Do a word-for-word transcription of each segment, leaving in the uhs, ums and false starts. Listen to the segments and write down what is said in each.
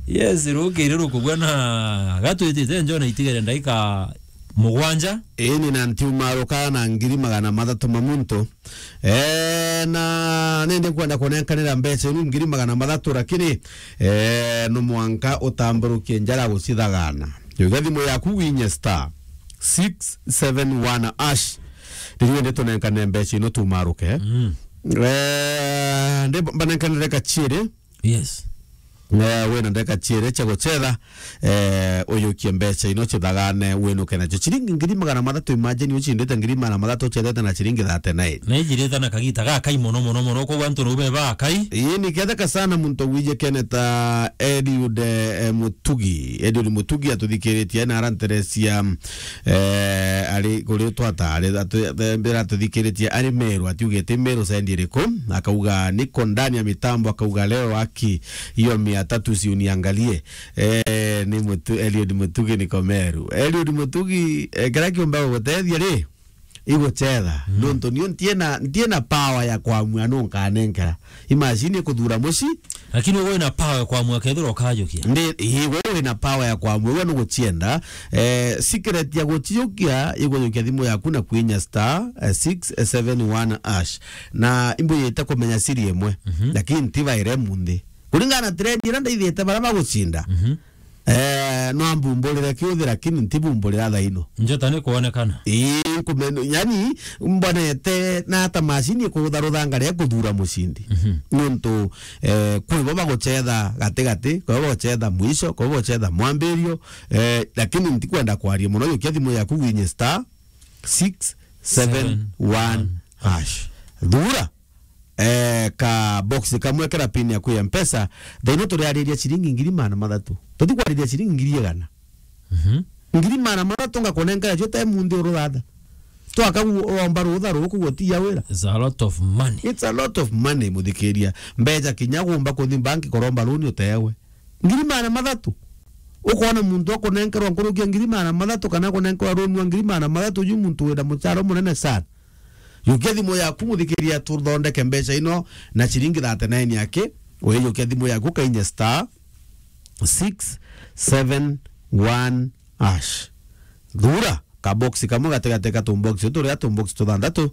Yes, rukiri rukugwa na gatwitite njo na itigere ndaika mugwanja. Ii, ni na ntiumaruka na ngiri magana mathatu ma muntu. Eh, na nindi nkwenda kunenkanira mbeca inu ngiri magana mathatu, lakini, eh, no mwanka utamburukie njara gucithagana. Yuga thimu yaku winye star six seven one hash. Ndio ndi tunenkane mbeca ino tumaruke. Mm. Eh, ndi mbanenkanire kachiere. Yes. Eh, wina ndeka chiere cha guchetha, eh, uyukie mbeca ino chithagane winuke nacho. Chiringi ngiri magana mathatu, imagine uchindite ngiri magana mathatu uchethete na chiringi thirty-nine. Na ijirite na kagita gakai mono, mono, mono, koguo antu no beba akai. Ii, ni ketheka sana muntu wije keneta Eliud, eh, Mutugi. Eliud Mutugi atuthikiritie na aranteresia, eh, ari kuri twata, ari atu-, mbira atuthikiritie ari Meru, atiugite Meru sendi iriku, akauga niko ndani ya mitambo, akauga leo haki hiyo mia tatu si uniangalie. Eh, ni Mutu-, Eliud Mutugi niko Meru. Eliud Mutugi, eh, kira kiumba gugutethia ri, iguchetha. Mm. Nontu nio ntiena, ntiena power ya kwamua nu nkanenkera. Imagine kuthura muci. Lakini ugo wina power ya kwamua kethira ukajukia. Ndi, ii, we wina power ya kwamua, we nuguchienda. Eh, secret ya guchijukia, igujukia thimu yaku na kwinya star, eh, six seven one hash. Na imbuyite kumenya siri imwe. Mhm. Lakini ntibaire munthi. Kuringana na trend ira ndaithite bara bagucinda. Mhm. Eh, no ambumburire kiuthi, lakini ntibumburira thaino. Njota ni kuonekana. Ii, nkume-, yani, mbonete na ata macini ikurutha ruthanga ria kuthura mucindi. Mhm. Nontu, eh, kwi bo baguchetha gatigati, kwi bo baguchetha mwisho, kwi bo baguchetha mwambirio, eh, lakini ntikwenda kwaria mono, yukia thimu yaku winye star six seven one hash. Thura. Eh, ka box kamwe kara pin yaku ya Mpesa, thaino turiariria ciringi ngiri magana mathatu. Tuti kwariria ciringi ngiri igana. Mhm. Ngiri magana mathatu ngakunengera cio te munthi uruthatha. Twaka gu-, uromba rutha ruku gutiya wira. It's a lot of money. It's a lot of money, muthikiria. Mbeca kinya gumba kuthi banki kuromba runi utewe. Ngiri magana mathatu. Ukona muntu akunenkerwa nkurukia ngiri magana mathatu kana akunenkerwa runi wa ngiri magana mathatu, uju muntu wina muchara munene sana. Yukia thimu yaku, muthikiria, tuthondeke mbeca ino na ciringi thirty-nine yake. Uijukia thimu yaku, kainye star six seven one hash. Thura ka box kamwe gatigati ka tumbox turia tumbox tuthanthatu,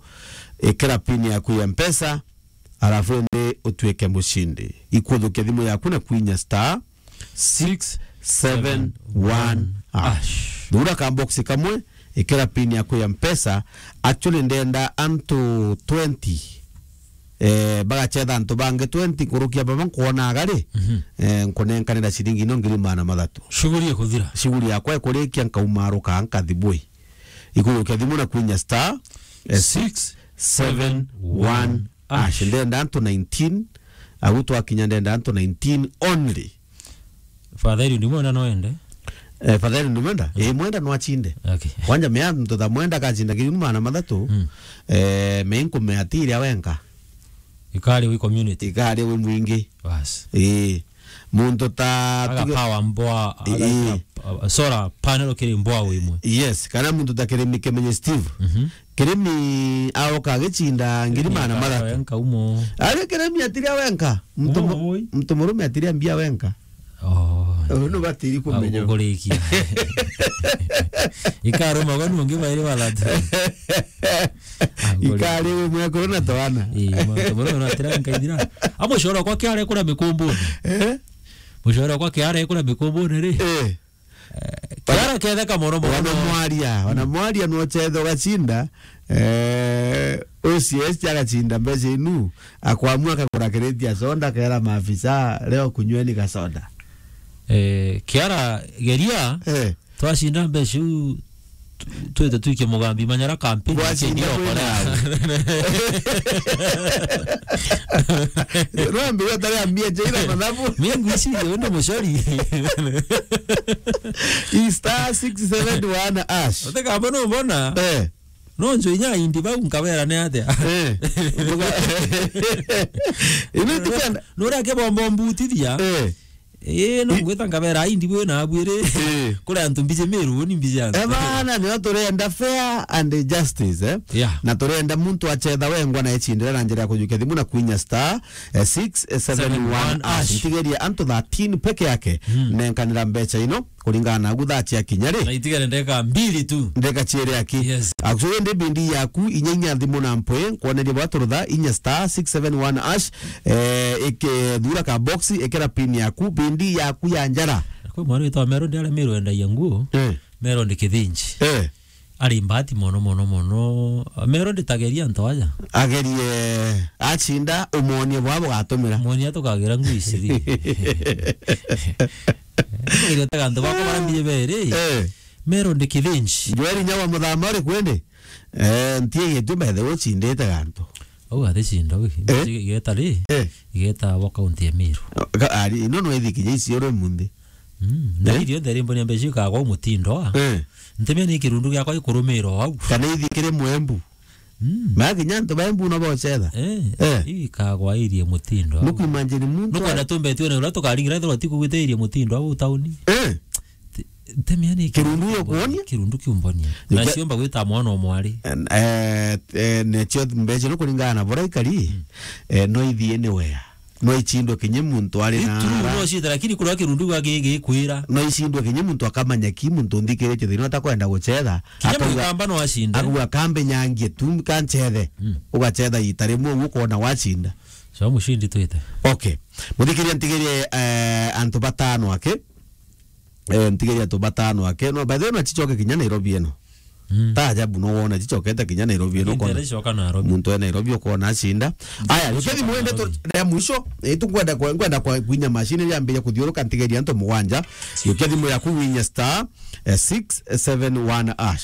ikira pin yaku ya Mpesa, alafu indi utuike mucindi. Ikuthukia thimu yaku na kwinya star six seven one hash. Thura ka box kamwe, ikira pin yaku ya Mpesa. Actually, ndenda antu twenty, eh, bagachetha antu bangi twenty nkurukia baba nkwona agari. Mhm. Eh, nkunenkanira ciringi ino ngiri magana mathatu. Shughuli ikuthira. Shughuli yakwa ikurikia, nkaumaruka, nkathi bui. Ikuyukia thimu na kwinya star, eh, six seven one hash. Ndenda antu nineteen, agu twakinya ndenda antu nineteen only. Father Eliud mwenda no ende? Eh, Father Eliud mwenda? Mm. Eh, mwenda no achinde. Okay. Kwanja mea muntu ta mwenda akachinda kiri magana mathatu, mm, eh, me nkume atiria wenka. Ikari wi community. Ikari wi mwingi. Bas. Eh. Muntu ta aga tuge power mboa, aga, eh, solar panel kiri mboa wi imwe. Yes, kana muntu ta Kirimi Kimenyi Steve. Mhm. Kirimi aroka agichinda ngiri magana mathatu. Wenka umo. Ari Kirimi atiria wenka. Muntu mu-, umo woi? Muntu murume atiria mbia wenka. Oh. Uyu nubatiri kumenya. Ukurikia. Ikaruma gwa nungi bairi balatu. Ikari umwe kuru na twana. Ii, muntu murume no atira nkaithira. Amushora kwa kiare kura mikumbuni. Eh? Mushora kwa kiare kura mikumbuni ri? Eh. Eh, kiara ketheka mono mono. Wana mwaria, wana mwaria no chetho gacinda, eh, O C S agacinda mbeca inu, akwamua akagura kireti ya soda, akera maafisa, "Leo kunyweni gasoda." Eh, kiara geria, eh, twacinda mbeca iu, tu-, twite tuike mugambi manyara kampeni. Gwacinda kwina. Rwambi gutari ambia chaira mathabu. Mingu ici, undo mucori. I star six seven one hash. Utekamba no mbona? Eh. No njo inya indi bau nkabera ni atia? Eh. Ino tikenda. Nuria kibombo mbutithia. Eh. Eh, no I- ngwita ngabera, ai, ndi bwina abwire. Eh. Kuri antu mbiji Miru, ni mbiji antu. Eh, bana, nio turenda fair and justice, eh? Yeah. Na turenda muntu achetha wengwa na echindira na njira ya kujukia thimu na kwinya star, eh, six seven one hash. Seven one hash. Ntigeria antu thirteen peke yake. Mm. Nenkanira mbecha ino, kuringana na ugu thaa cia kinya ri. Na itigere ndeka mbili tu. Ndeka chiere aki. Yes. Actually, ndi bindi yaku, inya inya thimu na mpwe, kwoneria bwa turutha, inya star six seven one hash, eh, ike thura ka box, ikira pin yaku, bindi yaku ya njara. Kwi mwana witwa Mero, ndi aria Mero endagia nguo. Eh. Mero ndi Kithinji. Eh. Ari mbati mono, mono, mono. Mero nditageria antu aja. Agerie, achinda, umonie bwa bugatumira. Monia tukagira ngui ciri. Tukagira ta gantu bakwa bara mbire beri. Eh. Mero ndi Kithinji. Joel Nyawa muthama uri kwendi? Eh, ntie gitu bethe uchindite gantu. Au athi chinda wi. Eh? Igeta ri? Eh. Igeta wa kaunti ya Meru. Ka-, ari, ino no ithi kinya icio ri munthi. Mm. Eh? Na irio nthe rimbo ni mbeca ikagwa mutindo a. Eh. Ntemia ni kirundu giakwa ikurumira au. Kana ithi kiri Mwembu. Mm. Ma kinya antu ba Embu no bocetha. Eh. Eh. Ikagwa irie mutindo au. Nuku imagine muntu. Nukwenda a- tumbe tuone uria tukaringira ithirwa tikugwite irie mutindo au tauni. Eh. Te-, temia ni kirundu yo kuonia? Kirundu kiumbonia. Yuke- Na ciomba gwita mwana o mwari. Eh, eh, necio mbeca no kuringana na bura ikari, mm, eh, no ithie ni wea. No ichindwe kinye muntu ari na true, ara. No cita, lakini kuria kirundu gwa gi-, gikwira. No ichindwe kinye muntu akamanya ki muntu nthikiritie thina atakwenda gucetha. Kinya akauga, mukamba no acinde. Akauga, "Kambe nyangie tu, kancethe." Mm. Ugacetha ita rimwe, uguo ukona wacinda. So, mushindi twite. Okay. Muthikiria ntigirie, eh, antu batano ake. Eh, ntigeria tu batano ake. No, by the way, na chichoke kinya Nairobi eno. Mm. Ta ajabu no wona chichokete kinya Nairobi eno. Lakini kona ntere choka Nairobi. Muntu e Nairobi ukona acinda. Aya, choka yukia thimu ende tu Nairobi. Ya mwisho, eh, tu kwenda kwa, kwenda kwa kwinya machine yambia kuthiuruka ntigeria antu mugwanja. Yukia thimu yaku winya star, eh, six seven one hash.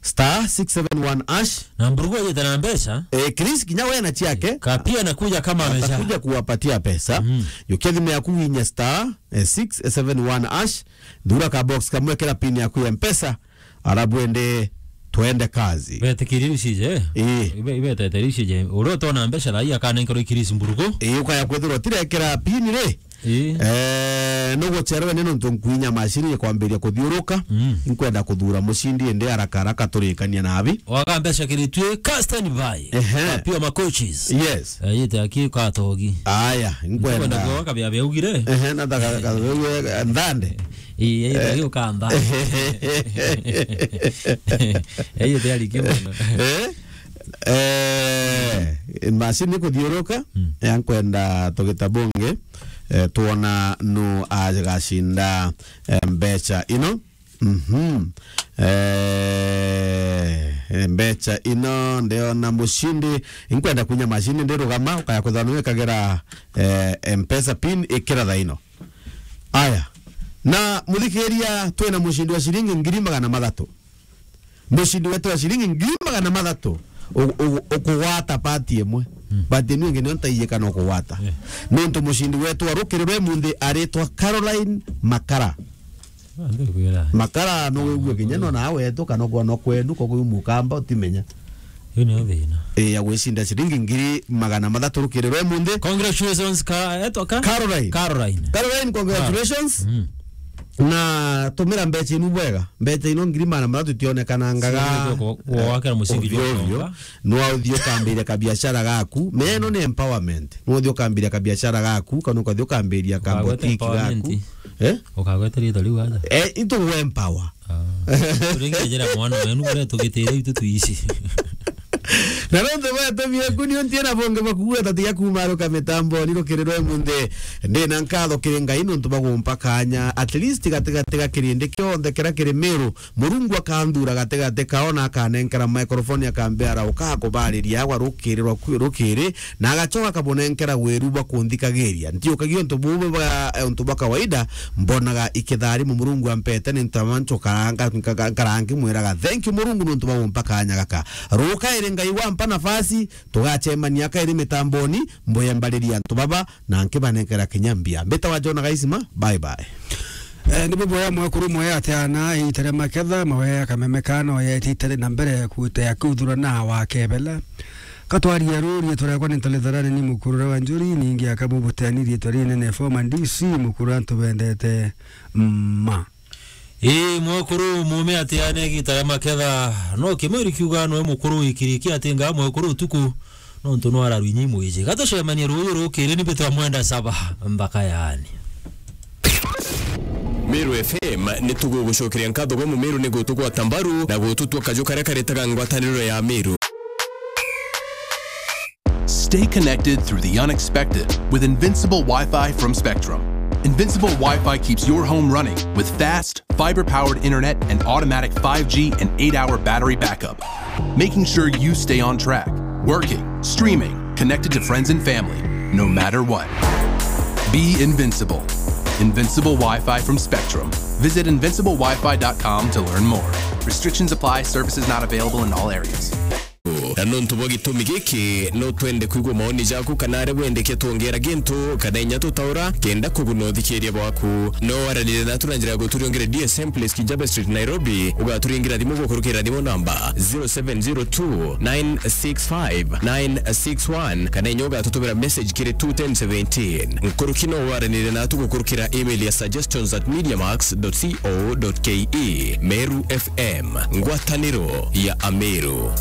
Star six seven one hash. Na mburugu yete na mbeca. Eh, Chris kinya we na chiake. Ka pia anakuja kama amesha. Atakuja kuwapatia pesa. Mm. Yukia thimu yaku winya star eh, six seven one hash, thura ka box kamwe, kira pin yaku ya Mpesa, arabu ende twende kazi. Betikiri ucije. Ii. Ibe, ibe tetere ucije. Uria utona mbeca thaa ii akanenkerwa ikirisi mburugu. Ii, ukaya kwithirwa tirekera pin ri. Ii. Eh, nugucherwe ni nontu nkwinya machine ikwambiria kuthiuruka. Mm. Nkwenda kuthura mucindi indi haraka haraka turikania nabi. Waga mbeca kiritue, ka stand by. Ehe. Ka pia ma coaches. Yes. Eh, yite aki katogi. Aya, nkwenda. Nkwenda kuoka bia bia ugire. Ehe, na daga, daga, nthande. Ii, yite aki ukantha. Eh, yite ari kimono. Eh? Eh, machine kuthiuruka, mm, ya nkwenda tugita bunge, eh, tuona nu agacinda, eh, mbeca ino. Mhm. Eh, mbeca ino ndiona mucindi. Inkwenda kunya machine ndirugama, ukaya kwithirwa niwe kagira, eh, Mpesa pin ikira thaa ino. Aya. Na muthikiria, twina mucindi wa ciringi ngiri magana mathatu. Mucindi wetu wa ciringi ngiri magana mathatu u-, u-, ukugwata pati imwe. Mm. Pati inu ingi nio ntaiye kana ukugwata. Yeah. Nontu mucindi wetu wa rukiri rwe munthi aritwa Caroline Makara. Ah, ndikwira. Makara no wigue kinya no na wetu kana kwa no kwenu, kwa kuyu mukamba utimenya. Yu ni thina. Eh, ya gwicinda ciringi ngiri magana mathatu rukiri rwe munthi. Congratulations, ka-, etwa ka? Caroline. Caroline. Caroline, congratulations. Mm. Na tumira mbeca inu bwega. Mbeca ino ngiri magana mathatu itionekanangaga. Cio ku-, ku-, gwakira mucindi ovyo ovyo. Nwa uthii ukambiria kabiashara gaku. Meno ni empowerment. Nwa uthii ukambiria kabiashara gaku, kana ukathii ukambiria ka boutique gaku. Ukagweta empowerment. Eh? Ukagweta rito riu aja. Eh, itu empower. Ah. Turinge njira mwana wenu, kuria tugitire itu tuici. Na nontu bwa tumi eku, nio ntiena bonge bwa kuuga tatiga kumaruka mitamboni rukiri rwe munthi. Ndina nkatho kiri Ngai nontu bwa gumpa kanya, at least gatigati ga kirindi kionthe kiria kiri Meru. Murungu akanthura gatigati kao na akanenkera microphone, akambira, "Uka kubariria agwa rukiri rwa ku-, rukiri," na agacoka akabunenkera wiru bwa kunthikagiria. Ntiukagia untu bubu bwa, eh, untu bwa kawaida, mbonaga ikitharimu Murungu ampete ni ntamancho karanga, nka-, nka-, nkarangi mwiraga, "Thank you Murungu nontu bwa gumpa kanya gaka." Ruka iri Ngai wampa nafasi, tugacemania kairi mitamboni, mbuyembariria antu baba, na nkibanenkera kinya mbia. Mbitawa John Gaisima, bye bye. Eh, ni bubwega mwekuru mwe atiana, itere maketha, mawe akamemekana, oya ititere na mbere kutea kuthura na wakebela. Katwaria ruu, riitwa riakwa ni Ntale Tharani, ni mukuru uria wa Njuri, ningi aka bubuteni, riitwa rinene, former D C, mukuru antu bendete ma. Ii, mwekuru mume ati ane gita ria maketha, no kimwiri kiuga noe mukuru wikiriki ati nga mwekuru utuku, nontu no araru inyi mwiji. Gatucemanie ruuyu rukiri, ni bitwa mwenda saba mbaka yaani. Meru F M, ni tugugucokeria nkatho gwa Mumeru ni gutugwata mbaru na gututua kaju karia karetaga ngwataniro ya Meru. Stay connected through the unexpected with Invincible Wi-Fi from Spectrum. Invincible Wi-Fi keeps your home running with fast, fiber-powered internet and automatic five G and eight-hour battery backup, making sure you stay on track, working, streaming, connected to friends and family, no matter what. Be invincible. Invincible Wi-Fi from Spectrum. Visit invincible wi fi dot com to learn more. Restrictions apply. Services not available in all areas. Na nontu bwa gitumi giki, no twende kwigua maoni jaku kana aria wendekia twongera gintu kana inya tutaura kenda kuguna uthikiria bwaku. No waranire natu na njira ya guturiongere D S M Place, Kijabe Street, Nairobi. Ugaturingira thimu gukurukira thimu namba zero seven zero two nine six five nine six one, kana inya ugatutumira message kiri two ten seventeen. Nkuruki no waranire natu gukurukira email ya suggestions at mediamax dot co dot ke. Meru F M, ngwataniro ya Ameru.